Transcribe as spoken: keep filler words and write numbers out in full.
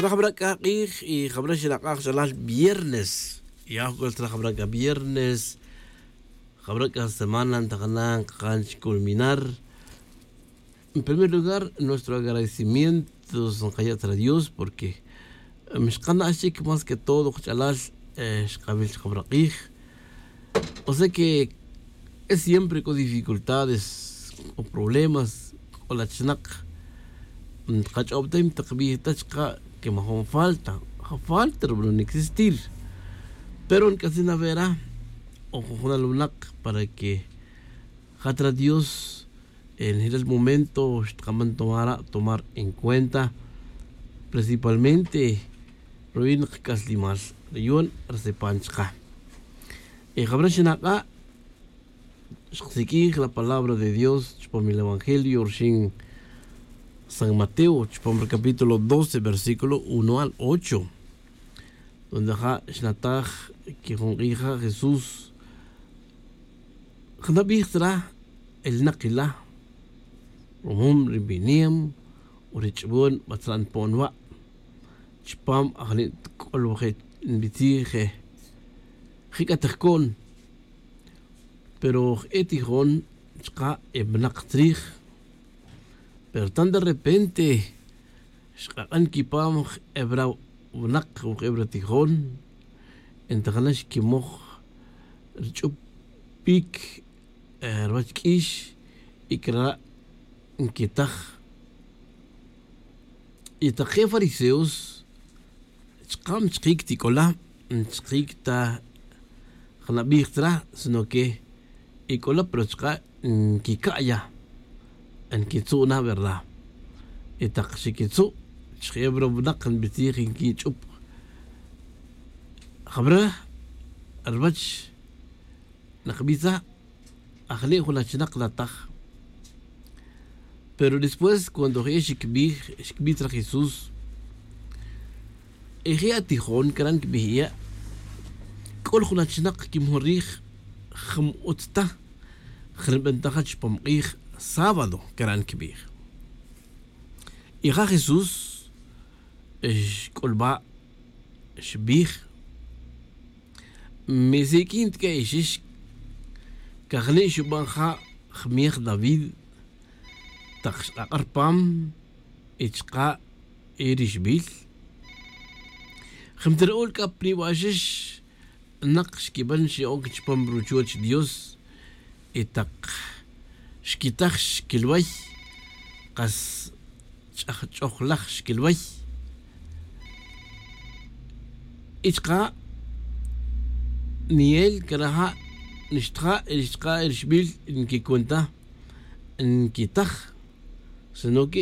Jabra' k'a q'ij y jabra' xinak'aj chalal viernes. Ya jabra' c'a viernes. Jabra' c'a semana ntajana' nkakan chculminar. En primer lugar, nuestro agradecimiento nkaya' chra dios porque xkana' chic más que todo kach'alal. Xkawil chkabra' q'ij. O sea que es siempre con dificultades, con problemas, con la chnak. Kach'ob ta y mtakbij ta chka' que majun falta. Ja falta rub'an existir. Pero nk'atzin avera o jujunal wnak para que jatra dios en jilal momento xtkaman tomar en cuenta, principalmente ruyin kac'aslimal ruyon rsepan chka. Y jabra' xinak'a' xksiq'ij la palabra de dios chupam el evangelio ruxin san mateo chupam el capítulo doce versículo uno al ocho, donde ja' xnataj que jun q'ij ja' jesús jnabij tzra el nakila rumum ri binem o ri ch'ubon batzra' npon wa' chupam ajni' tk'olwaje' nbitzij je jik'a' tijkon. Pero je' tijon chka' e bnak tzrij. Pero tan de repente xk'ak'an kipam jebra' wnak o jebra' tijon. Entajana' xkimoj rich'up pic ruwach k'ix y crara' nkitaj. Y tak je fariseos chka' mchkic ti c'ola mchkic ta jnabij tzra sino que y c'ola pero chka' nquica'ya. Nquitzu' na verdad y tak xiquitzu' chje'e wrobnak nbitzij nquich'up. Jabra' ruwach nakbitza ajni' jun achinak nataj. Pero después cuando je' xikbij xikbij tzra jesús e je' atijon caran kibij e' c'ol jun achinak quimon rij jam utz ta jnibentaja chupam k'ij sábado caran kibij. Y ja' jesús xc'ulba' xbij mi siq'uin tic'a ixix cajni' xuban ja' jmiej david tak xk'ak'a' rpam y chka' y rixbil. Jim ta ru'ul c'a priba' ixix nak xquiban xe'oc chupam ruchuoch dios y tak xquitaj xquilway kas ch'ajch'ojlaj xquilway. Y chka' niel caraja' nixtja' y nixtja' y rixbil nquicun ta nquitaj sino que